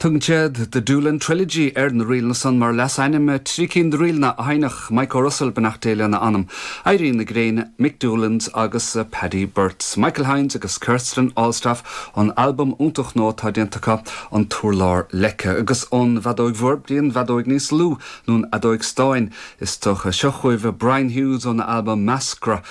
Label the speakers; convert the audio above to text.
Speaker 1: Tugann siad The Doolin Trilogy ar na ríleanna san mar leasainm, 3 cinn de ríleanna a sheinneadh Mike O'Russell, beannacht Dé lena anam, Éirí na Gréine, Mick Doolins agus Paddy Burts. Michael Hynes agus Kirsten Allstaff ón albam iontach nua atá déanta acu, An tUrlár Leice. Agus ón bhfeadóig mhór go dtí an bhfeadóig níos lú, nó an fheadóig stáin, is dócha. Seo chugaibh Brian Hughes óna albam Meascra.